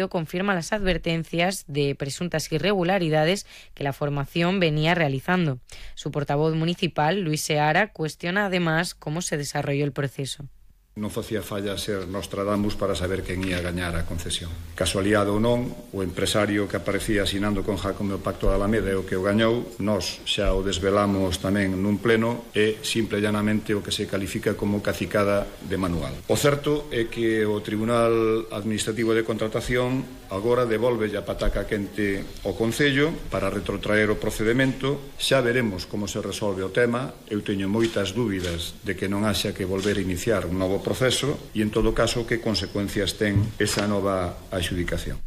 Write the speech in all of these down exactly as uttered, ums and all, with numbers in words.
confirma las advertencias de presuntas irregularidades que la formación venía realizando. Su portavoz municipal, Luis Seara, cuestiona además cómo se desarrolló el proceso. Non facía falla ser Nostradamus para saber quen ia gañar a concesión. Casualidade ou non, o empresario que aparecía asinando con Jacome o Pacto da Alameda é o que o gañou. Nós xa o desvelamos tamén nun pleno e simple e llanamente o que se califica como cacicada de manual. O certo é que o Tribunal Administrativo de Contratación agora devolve a pataca quente ao Concello para retrotraer o procedemento. Xa veremos como se resolve o tema. Eu teño moitas dúbidas de que non haxa que volver a iniciar un novo proceso e, en todo caso, que consecuencias ten esa nova adxudicación.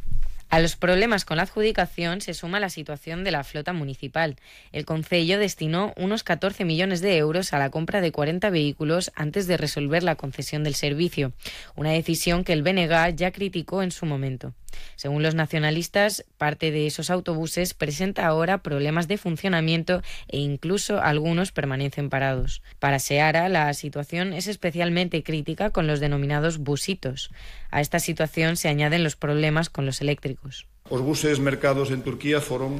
A los problemas con la adjudicación se suma la situación de la flota municipal. El Concello destinó unos catorce millones de euros a la compra de cuarenta vehículos antes de resolver la concesión del servicio, una decisión que el B N G ya criticó en su momento. Según los nacionalistas, parte de esos autobuses presenta ahora problemas de funcionamiento e incluso algunos permanecen parados. Para Seara, la situación es especialmente crítica con los denominados busitos. A esta situación se añaden los problemas con los eléctricos. Os buses mercados en Turquía foron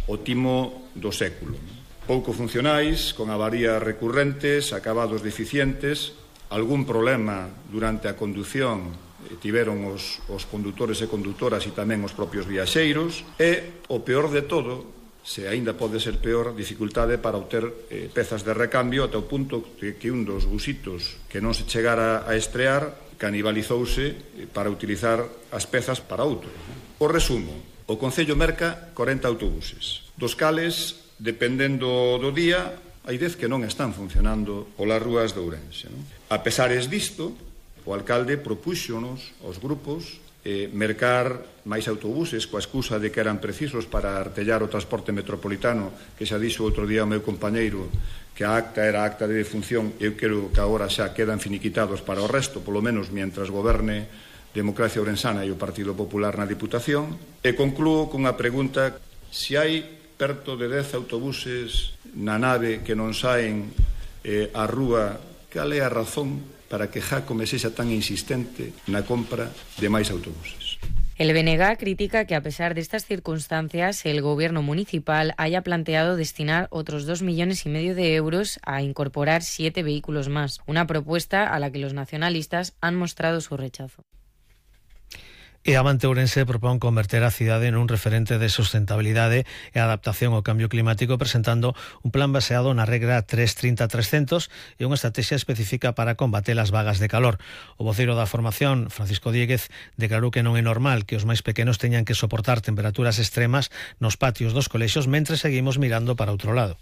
o timo do século. Pouco funcionais, con avarías recurrentes, acabados deficientes, algún problema durante a condución tiveron os, os condutores e condutoras e tamén os propios viaxeiros e, o peor de todo, se aínda pode ser peor, dificultade para obter eh, pezas de recambio ata o punto de que un dos busitos que non se chegara a estrear canibalizouse para utilizar as pezas para outro. O resumo, o Concello merca corenta autobuses, dos cales, dependendo do día, hai dez que non están funcionando polas rúas de Ourense. Non? A pesares disto, o alcalde propúxonos aos grupos eh, mercar máis autobuses coa excusa de que eran precisos para artellar o transporte metropolitano, que xa dixo outro día o meu compañeiro que a acta era acta de defunción. Eu creo que agora xa quedan finiquitados para o resto, polo menos mientras goberne Democracia Ourensana e o Partido Popular na Diputación. E conclúo cunha pregunta: se hai perto de dez autobuses na nave que non saen eh, á rúa, cal é a razón para que Jacome sexa tan insistente na compra de máis autobuses? El B N G critica que, a pesar de estas circunstancias, el gobierno municipal haya planteado destinar otros dos millones y medio de euros a incorporar siete vehículos más, una propuesta a la que los nacionalistas han mostrado su rechazo. E Avante Ourense propón converter a cidade nun referente de sustentabilidade e adaptación ao cambio climático, presentando un plan baseado na regra tres trinta trescentos e unha estrategia específica para combater as vagas de calor. O voceiro da formación, Francisco Dieguez, declarou que non é normal que os máis pequenos teñan que soportar temperaturas extremas nos patios dos colexios mentre seguimos mirando para outro lado.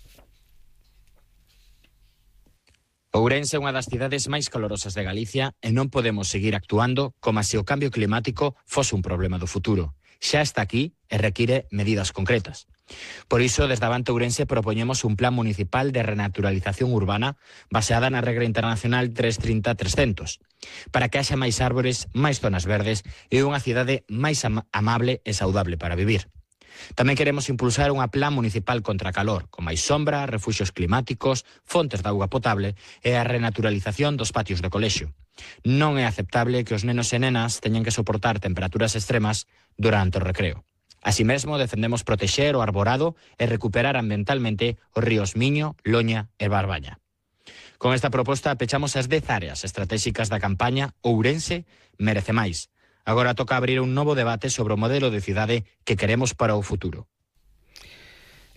Ourense é unha das cidades máis calorosas de Galicia e non podemos seguir actuando como se o cambio climático fose un problema do futuro. Xa está aquí e require medidas concretas. Por iso, desde Avante Ourense propoñemos un plan municipal de renaturalización urbana baseada na regra internacional tres trinta trescentos, para que haxa máis árbores, máis zonas verdes e unha cidade máis am- amable e saudable para vivir. Tamén queremos impulsar unha plan municipal contra a calor, con máis sombra, refuxios climáticos, fontes de auga potable e a renaturalización dos patios de colexio. Non é aceptable que os nenos e nenas teñan que soportar temperaturas extremas durante o recreo. Así mesmo, defendemos protexer o arborado e recuperar ambientalmente os ríos Miño, Loña e Barbaña. Con esta proposta pechamos as dez áreas estratégicas da campaña Ourense merece máis. Agora toca abrir un novo debate sobre o modelo de cidade que queremos para o futuro.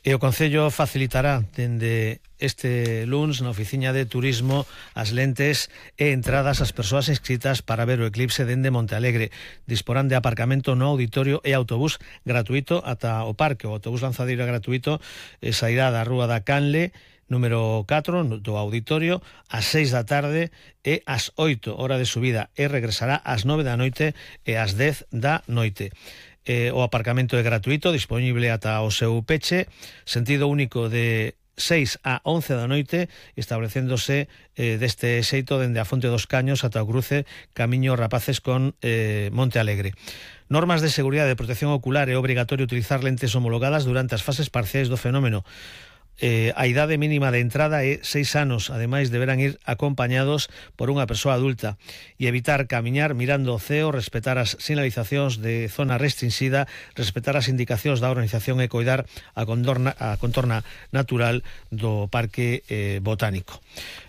E o Concello facilitará dende este luns na Oficina de Turismo as lentes e entradas ás persoas inscritas para ver o eclipse dende Montealegre. Disporán de aparcamento no auditorio e autobús gratuito ata o parque. O autobús lanzadeiro gratuito e sairá da Rúa da Canle número catro do auditorio ás seis da tarde e ás oito hora de subida e regresará ás nove da noite e ás dez da noite. Eh, o aparcamento é gratuito, disponible ata o seu peche, sentido único de seis a once da noite, establecéndose eh, deste xeito dende a Fonte dos Caños ata o cruce Camiño Rapaces con eh, Monte Alegre. Normas de seguridade e protección ocular: é obrigatorio utilizar lentes homologadas durante as fases parciais do fenómeno. Eh, a idade mínima de entrada é seis anos, ademais deberán ir acompañados por unha persoa adulta e evitar camiñar mirando o ceo, respetar as sinalizacións de zona restringida, respetar as indicacións da organización e coidar a contorna, a contorna natural do Parque eh, Botánico.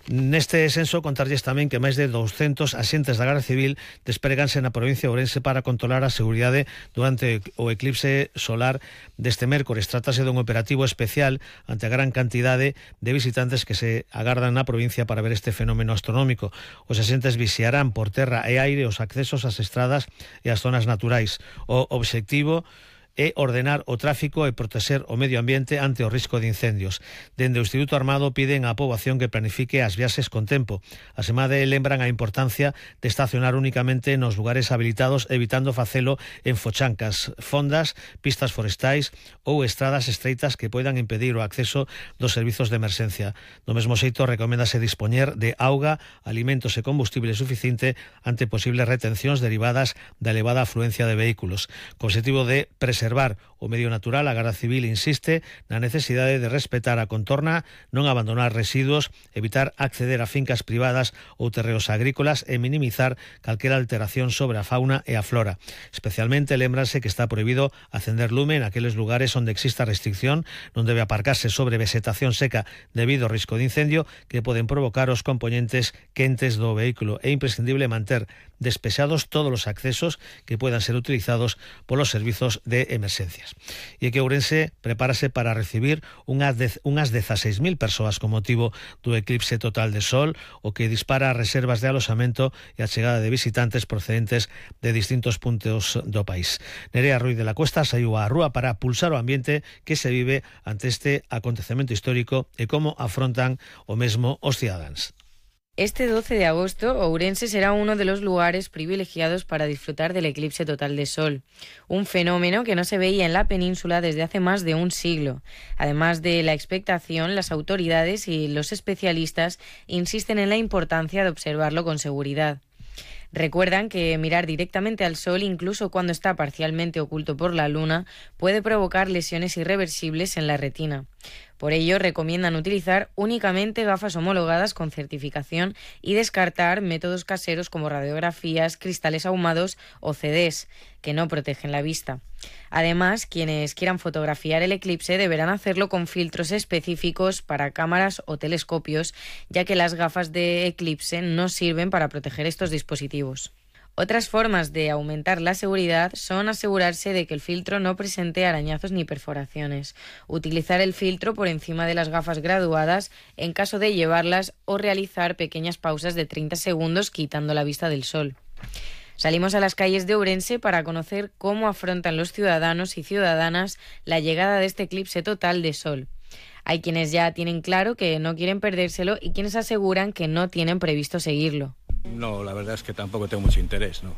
Neste senso, contarlles tamén que máis de douscentos axentes da Garda Civil despreganse na provincia de Ourense para controlar a seguridade durante o eclipse solar deste mércores. Trátase dun operativo especial ante a gran cantidade de visitantes que se agardan na provincia para ver este fenómeno astronómico. Os axentes vixiarán por terra e aire os accesos ás estradas e ás zonas naturais. O obxectivo é ordenar o tráfico e protexer o medio ambiente ante o risco de incendios. Dende o Instituto Armado piden á poboación que planifique as viaxes con tempo. Asemade, lembran a importancia de estacionar únicamente nos lugares habilitados, evitando facelo en fochancas, fondas, pistas forestais ou estradas estreitas que poidan impedir o acceso dos servizos de emerxencia. Do mesmo xeito, recoméndase dispoñer de auga, alimentos e combustible suficiente ante posibles retencións derivadas da elevada afluencia de vehículos. Co objetivo de preservar preservar o medio natural, a Garda Civil insiste na necesidade de respetar a contorna, non abandonar residuos, evitar acceder a fincas privadas ou terreos agrícolas e minimizar calquera alteración sobre a fauna e a flora. Especialmente lembrase que está prohibido acender lume en aqueles lugares onde exista restricción, non debe aparcarse sobre vegetación seca debido ao risco de incendio que poden provocar os componentes quentes do vehículo. É imprescindible manter despexados todos os accesos que puedan ser utilizados polos servizos de emerxencias. E que Ourense prepárase para recibir unhas, de, unhas dezaseis mil persoas con motivo do eclipse total de sol, o que dispara as reservas de aloxamento e a chegada de visitantes procedentes de distintos puntos do país. Nerea Ruiz de la Cuesta saiu á rúa para pulsar o ambiente que se vive ante este acontecemento histórico e como afrontan o mesmo os cidadáns. Este doce de agosto, Ourense será uno de los lugares privilegiados para disfrutar del eclipse total de sol, un fenómeno que no se veía en la península desde hace más de un siglo. Además de la expectación, las autoridades y los especialistas insisten en la importancia de observarlo con seguridad. Recuerdan que mirar directamente al sol, incluso cuando está parcialmente oculto por la luna, puede provocar lesiones irreversibles en la retina. Por ello, recomiendan utilizar únicamente gafas homologadas con certificación y descartar métodos caseros como radiografías, cristales ahumados o C Ds, que no protegen la vista. Además, quienes quieran fotografiar el eclipse deberán hacerlo con filtros específicos para cámaras o telescopios, ya que las gafas de eclipse no sirven para proteger estos dispositivos. Otras formas de aumentar la seguridad son asegurarse de que el filtro no presente arañazos ni perforaciones, utilizar el filtro por encima de las gafas graduadas en caso de llevarlas o realizar pequeñas pausas de treinta segundos quitando la vista del sol. Salimos a las calles de Ourense para conocer cómo afrontan los ciudadanos y ciudadanas la llegada de este eclipse total de sol. Hay quienes ya tienen claro que no quieren perdérselo y quienes aseguran que no tienen previsto seguirlo. No, la verdad es que tampoco tengo mucho interés, ¿no?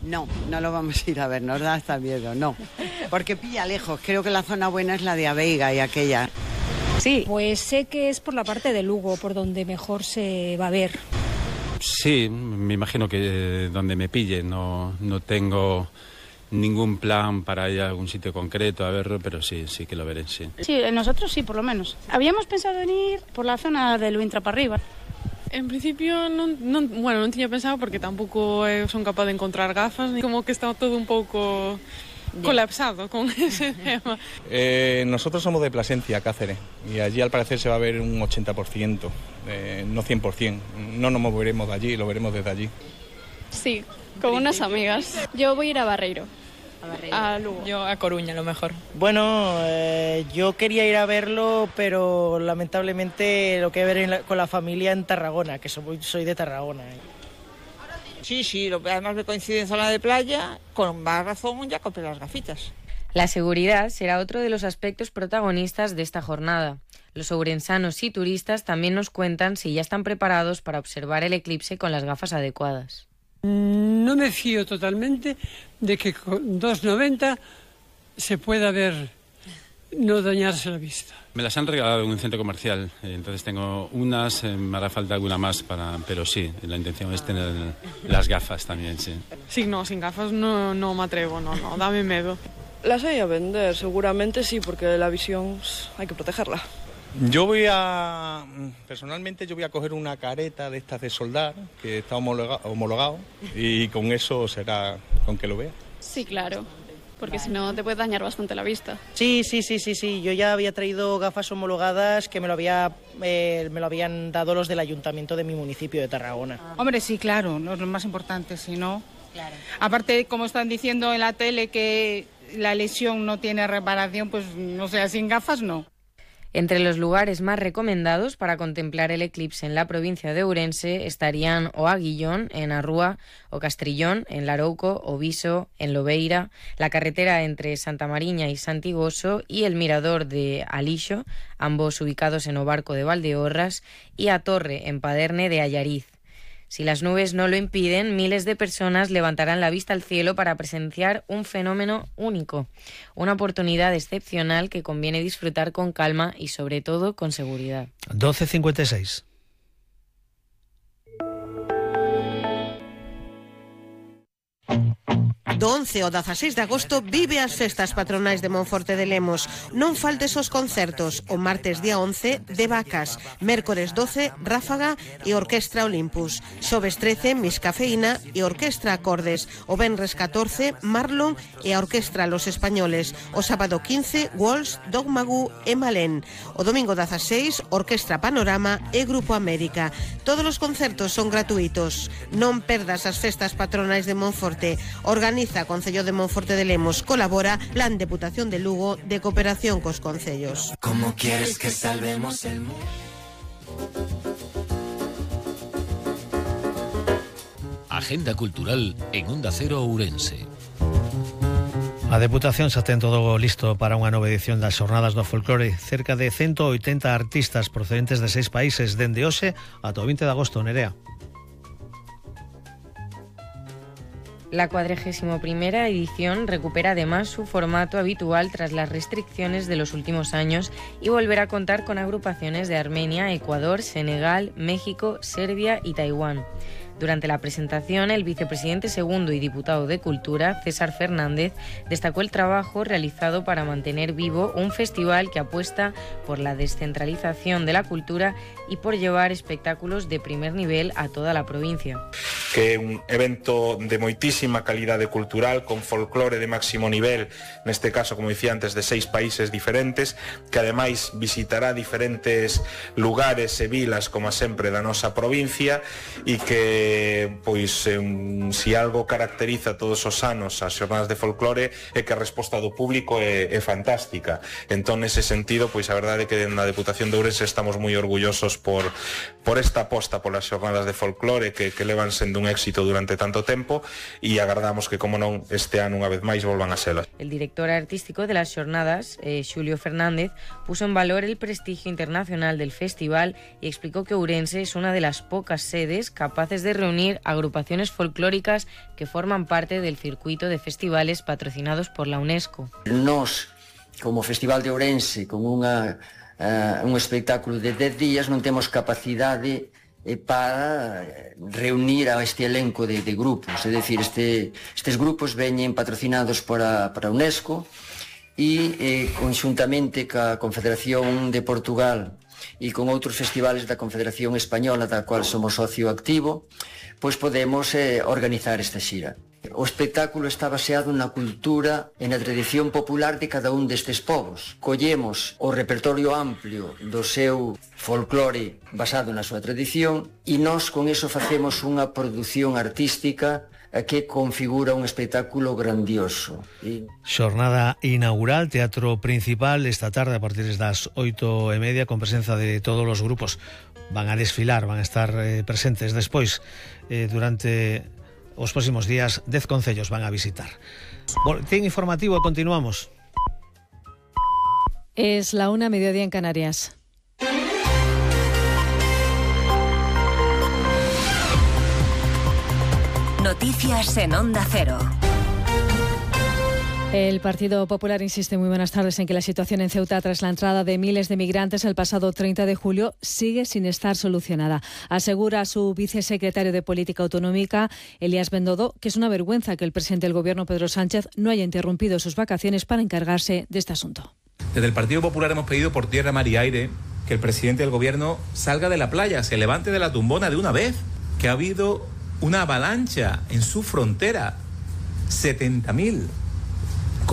No, no lo vamos a ir a ver, nos da hasta miedo, no. Porque pilla lejos, creo que la zona buena es la de Aveiga y aquella. Sí. Pues sé que es por la parte de Lugo, por donde mejor se va a ver. Sí, me imagino que donde me pille, no, no tengo ningún plan para ir a algún sitio concreto a verlo, pero sí, sí que lo veré, sí. Sí, nosotros sí, por lo menos. Habíamos pensado en ir por la zona de Luintra para arriba. En principio, non, non, bueno, non tiña pensado porque tampouco eh, son capaz de encontrar gafas, como que está todo un pouco colapsado con ese tema. Eh, nosotros somos de Plasencia, Cáceres, y allí al parecer se va a ver un ochenta por ciento, eh, no cien por ciento. No nos moveremos de allí, lo veremos desde allí. Sí, con unas amigas. Yo voy a ir a Barreiro. A Barreiro. A Lugo. Yo a Coruña, a lo mejor. Bueno, eh, yo quería ir a verlo, pero lamentablemente lo que ver en la, con la familia en Tarragona, que soy, soy de Tarragona. ¿eh? Sí, sí, lo, además me coincide en zona de playa, con más razón ya compré las gafitas. La seguridad será otro de los aspectos protagonistas de esta jornada. Los ourensanos y turistas también nos cuentan si ya están preparados para observar el eclipse con las gafas adecuadas. No me fío totalmente de que con dos noventa se pueda ver, no dañarse la vista. Me las han regalado en un centro comercial, entonces tengo unas, eh, me hará falta alguna más, para, pero sí, la intención es tener las gafas también, sí. Sí, no, sin gafas no, no me atrevo, no, no, dame miedo. Las hay a vender, seguramente sí, porque la visión hay que protegerla. Yo voy a, personalmente yo voy a coger una careta de estas de soldar, que está homologa, homologado, y con eso será con que lo vea. Sí, claro, porque si no te puede dañar bastante la vista. Sí, sí, sí, sí, sí. Yo ya había traído gafas homologadas que me lo había, eh, me lo habían dado los del ayuntamiento de mi municipio de Tarragona. Hombre, sí, claro, no es lo más importante, si no. Claro. Aparte, como están diciendo en la tele que la lesión no tiene reparación, pues no sé, sin gafas no. Entre los lugares más recomendados para contemplar el eclipse en la provincia de Ourense estarían o Aguillón, en Arrúa, o Castrillón, en Larouco, o Viso, en Lobeira, la carretera entre Santa Mariña y Santigoso y el mirador de Alixo, ambos ubicados en Obarco de Valdeorras, y a Torre, en Paderne de Allariz. Si las nubes no lo impiden, miles de personas levantarán la vista al cielo para presenciar un fenómeno único, una oportunidad excepcional que conviene disfrutar con calma y sobre todo con seguridad. doce cincuenta y seis. Do once ao dezaseis de agosto vive as festas patronais de Monforte de Lemos. Non faltes os concertos. O martes día once, de Vacas. Mércores doce, Ráfaga e Orquestra Olympus. Xoves trece, Miss Cafeína e Orquestra Acordes. O venres catorce, Marlon e a Orquestra Los Españoles. O sábado quince, Walsh, Dogmagu e Malén. O domingo dezaseis, Orquestra Panorama e Grupo América. Todos os concertos son gratuitos. Non perdas as festas patronais de Monforte. Organiza Concello de Monforte de Lemos, colabora Plan Deputación de Lugo de cooperación cos concellos. ¿Cómo quieres que salvemos el mundo? Agenda cultural en Onda Cero Ourense. A Deputación xa ten todo listo para unha nova edición das Xornadas do Folclore. Cerca de ciento oitenta artistas procedentes de seis países dende hoxe ata o vinte de agosto, Nerea. La cuadragésima primera edición recupera además su formato habitual tras las restricciones de los últimos años y volverá a contar con agrupaciones de Armenia, Ecuador, Senegal, México, Serbia y Taiwán. Durante la presentación, el vicepresidente segundo y diputado de Cultura, César Fernández, destacó el trabajo realizado para mantener vivo un festival que apuesta por la descentralización de la cultura y por llevar espectáculos de primer nivel a toda la provincia. Que é un evento de moitísima calidade cultural, con folclore de máximo nivel, neste caso, como dicía antes, de seis países diferentes, que ademais visitará diferentes lugares e vilas, como sempre, da nosa provincia, e que pois um, si algo caracteriza todos os anos as xornadas de folclore é que a resposta do público é, é fantástica. Entón, nese sentido, pois a verdade é que na Deputación de Ourense estamos moi orgullosos por, por esta aposta polas xornadas de folclore que, que levan sendo un éxito durante tanto tempo e agardamos que, como non, este ano unha vez máis volvan a selas. El director artístico de las xornadas, eh, Xulio Fernández, puso en valor el prestigio internacional del festival y explicó que Ourense es una de las pocas sedes capaces de reunir agrupaciones folclóricas que forman parte del circuito de festivales patrocinados por la UNESCO. Nos, como Festival de Ourense, con unha, uh, un espectáculo de dez días, non temos capacidade eh, para reunir a este elenco de, de grupos. É dicir, este, estes grupos veñen patrocinados por a, por a UNESCO e eh, conxuntamente ca Confederación de Portugal e con outros festivales da Confederación Española, da cual somos socio activo, pois podemos eh, organizar esta xira. O espectáculo está baseado na cultura e na tradición popular de cada un destes povos. Collemos o repertorio amplio do seu folclore basado na súa tradición e nós con eso facemos unha produción artística que configura un espectáculo grandioso. E... Xornada inaugural, teatro principal, esta tarde a partir das oito e media, con presenza de todos os grupos. Van a desfilar, van a estar eh, presentes. Despois, eh, durante os próximos días, dez concellos van a visitar. Boletín informativo, continuamos. Es la una, mediodía en Canarias. Noticias en Onda Cero. El Partido Popular insiste, muy buenas tardes, en que la situación en Ceuta tras la entrada de miles de migrantes el pasado treinta de julio sigue sin estar solucionada. Asegura su vicesecretario de Política Autonómica, Elías Bendodo, que es una vergüenza que el presidente del Gobierno, Pedro Sánchez, no haya interrumpido sus vacaciones para encargarse de este asunto. Desde el Partido Popular hemos pedido por tierra, mar y aire que el presidente del gobierno salga de la playa, se levante de la tumbona de una vez, que ha habido una avalancha en su frontera, setenta mil